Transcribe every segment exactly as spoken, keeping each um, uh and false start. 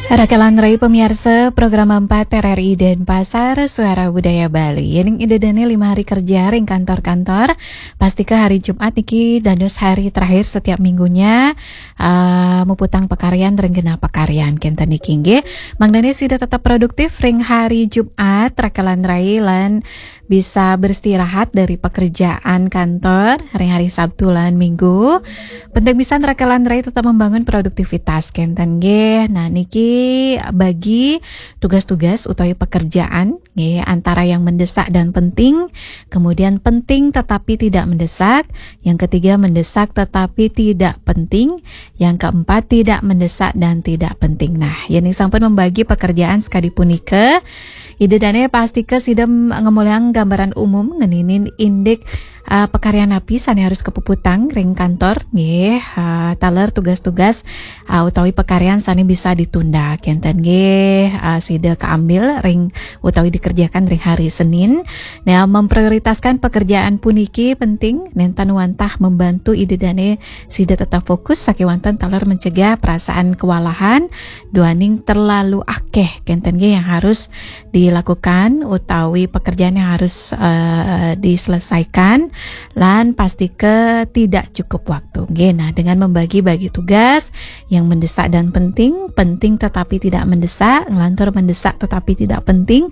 Rakalan rai pamiarsa program empat R R I Denpasar, Suara Budaya Bali. Yéning Ida dané lima hari kerja ring kantor-kantor, pastika hari Jumat niki dados hari terakhir setiap minggunya, eh, muputang pakaryan ring genah pakaryan kénten niki nggih. Mangdané sida tetep produktif ring hari Jumat, rakalan rai, lan bisa beristirahat dari pekerjaan kantor ring hari Sabtu lan Minggu. Penting pisan rakalan rai tetap membangun produktivitas kénten nggih. Nah, niki bagi tugas-tugas utawi pekerjaan nggih, antara yang mendesak dan penting, kemudian penting tetapi tidak mendesak, yang ketiga mendesak tetapi tidak penting, yang keempat tidak mendesak dan tidak penting. Nah, yéning sampun membagi pekerjaan sakadi punika, Ida dané pastika sida ngemolihang gambaran umum ngeninin indik, ah, pakaryan napi sané harus kapuputang ring kantor nggih, ah, taler tugas-tugas, ah, utawi pakaryan sané bisa ditunda kénten nggih, ah, sida kaambil ring utawi dikerjakan ring hari Senin. Nah, memprioritaskan pekerjaan puniki penting, nénten wantah membantu Ida dané sida tetap fokus sakéwanten taler mencegah perasaan kewalahan duaning terlalu akéh kénten nggih yang harus dilakukan utawi pekerjaan yang harus, eh, diselesaikan, lan pastika tidak cukup waktu. Nggih, nah, dengan membagi-bagi tugas yang mendesak dan penting, penting tetapi tidak mendesak, nglantur mendesak tetapi tidak penting,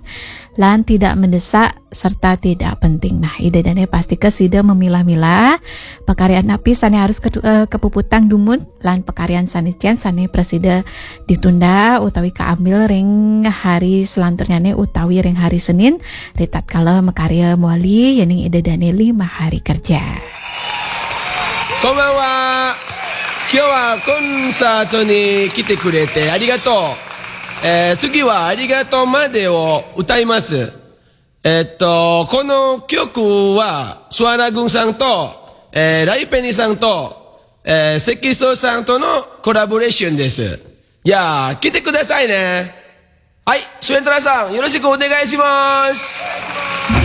lan tidak mendesak serta tidak penting. Nah, Ida dané pastika sida memilah-milah pakaryan napi sané harus ketu-, eh, kapuputang dumun lan pakaryan sané cén sané prasida ditunda utawi kaambil ring hari selanturnyané utawi ring hari Senin, ritatkala makarya mawali yéning Ida dané lima hari kerja. こんばんは。今日はコンサートに来てくれてありがとう。えー次はありがとうまでを歌います。えっと、この曲は、スワラ軍さんと、えーライペニさんと、えー、セキストさんとのコラボレーションです。じゃあ、来てくださいね。はい、スウェントラさん、よろしくお願いします。